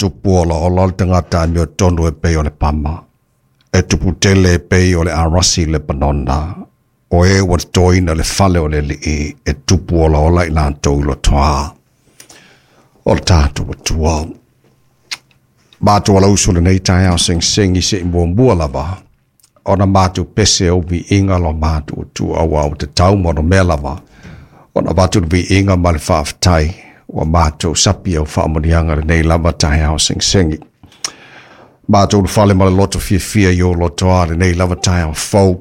tupu olaola o le tagata amiotonu e pei o le pama, e tupu tele e pei o le arasi i Lepanona, o e ua totoina le fale o le Alii e tupu olaola i latou i lotoā. O le tatou Atua. Matou alausu lenei taeao segisegi se'i muamua lava ona matou pese au viiga lo matou Atua auā ua tatau ma ona mea lava ona avatu le viiga ma le faafetai ua matou sapi au faamanuiaga lenei lava taeao segisegi. Matou ulufale ma le loto fiafia i ou lotoā lenei lava taeao fou,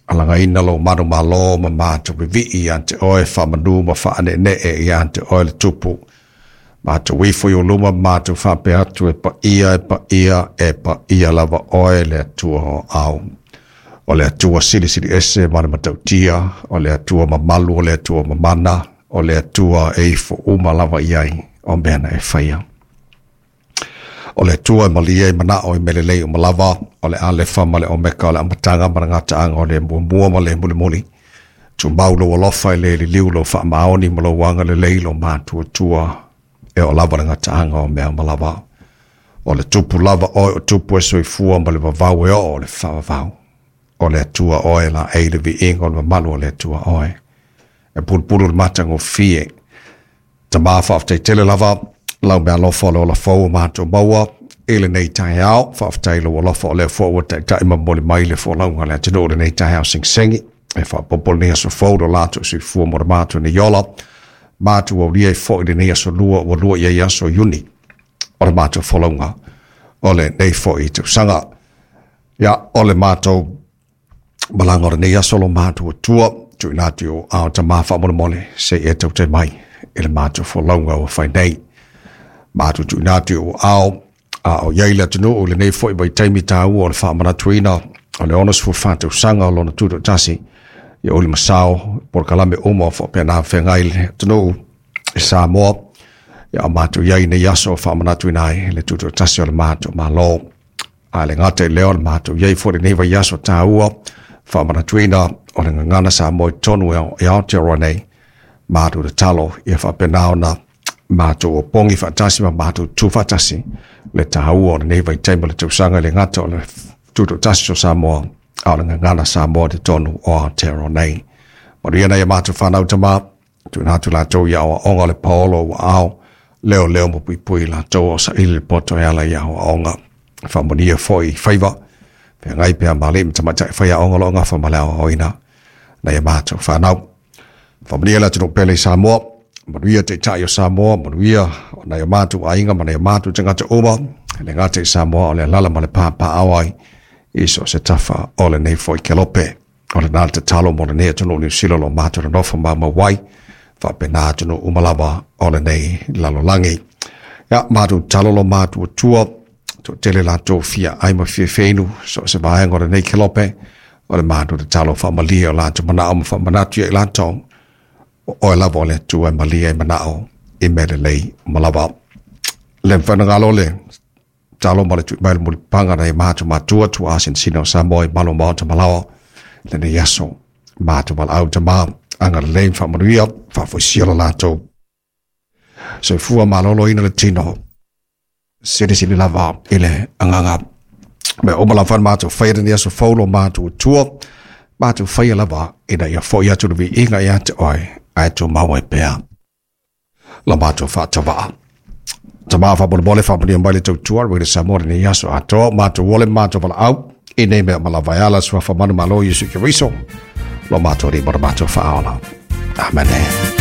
alagaina lou manumalo ma matou vivii ia te oe, faamanu ma faane'ene'e ia te oe le Tupu. Matou ifo i ou luma ma matou faapea atu, e paia, e paia, e paia lava oe le Atua o au. O le Atua silisili ese ma le matautia, o le Atua mamalu, o le Atua mamana, o le Atua e ifo uma lava i ai o mea na e faia. O le Atua e malie i manao i mea lelei uma lava, o le Alefa ma le Omeka, o le amataga ma le gataaga, o le muamua ma le mulimuli. Tumau lou alofa e le liliu lou faamaoni ma lou agalelei lo matou Atua, e oo lava le gataaga o mea uma lava. O le Tupu lava oe o Tupu e soifua ma le vavau e oo o le faavavau. O le Atua oe laei le viiga o le mamalu o le Atua oe. E pulupulu le matagofie. Tama faafetai tele lava lau meaalofa o le ola fou o matou maua i lenei taeao. Faafetai lou alofa o lea foi ua taitai ma momoli mai le folauga a le atunuu i lenei taeao segisegi. E faaopoopo lenei aso fou lo latou soifua mo le matou nei ola. Matou aulia ai foi lenei aso lua ua lua i ai aso Iuni o le matou folauga o lenei foi tausaga. Ia, o le matou malaga o lenei aso lo matou Atua, tuuina atu i ou aao Tama faamolemole, se i e tautai mai i le matou folauga ua fai nei. Matou tuuina atu i ou aao, a o i ai le atunuu i lenei foi vaitaimi taua o le faamanatuina o le 64 tausaga o lona tutoatasi, ia uli masao, polokalame uma o faapena feagai le atunuu i Samoa, ia o matou i ai nei aso o faamanatuina ai le tutoatasi o le matou Malo. A le gata i lea o le matou i ai foi lenei vaiaso taua, faamanatuina o le gagana Samoa i totonu e Aotearoa nei, matou tatalo ia faapena ona matou opogi faatasi ma matou tu faatasi le taua o lenei vaitaimi o le tausaga i le gata o le tutoatasi o Samoa, a o le gagana Samoa i totonu o Aotearoa nei. Manuia nai a matou fanau Tama, tuuina atu latou i aoaoga o le paolo ua ao, leo leo ma puipui latou o saili le poto e ala i aoaoga. Faamanuia foi i faiva, feagai pea ma alii ma tamaitai faiaoga o lo o gafa ma le aoaoina nai a matou fanau. Faamanuia le atunuu pele i Samoa, manuia taitai o Samoa, manuia o nai o matou aiga ma nai o matou tagata uma, le gata i Samoa o le alaala ma le papaao ai i so o se tafa o lenei foi kelope. O lena le tatalo mo lenei atunuu Niu Sila o lo o matou nonofo maumau ai, faapena atunuu uma lava o lenei lalolagi. Ia, matou tatalo lo matou Atua, toatele latou fia ai ma fia feinu, so o se vaega o lenei kelope, o le matou tatalo faamalie o latou manao ma faamanatu ia i latou, o oe lava o le Atua e malie ai manao i mea lelei uma lava. Le mawhanangalo le talo ma le tui mai le mulipapaga nai matou matua tuaa sinasina o Samoa i malu o maota malaoa lenei aso. Matou valaau Tama, agalelei ma faamanuia, faafoisia lo latou soifua maloloina le tino, silisili lava i le agaga. Mea uma lava na matou faia lenei aso fou lo matou Atua, matou faia lava ina ia foi atu le viiga ia te oe, ae tumau ai pea lo matou faatavaa. Tama faamolemole faamanuia mai le tautua Radio Samoa lenei aso atoa, matou ole ma matou valaau i nei mea uma lava e ala suafa manumalo Iesu Keriso lo matou Alii ma lo matou Faaola. Amene.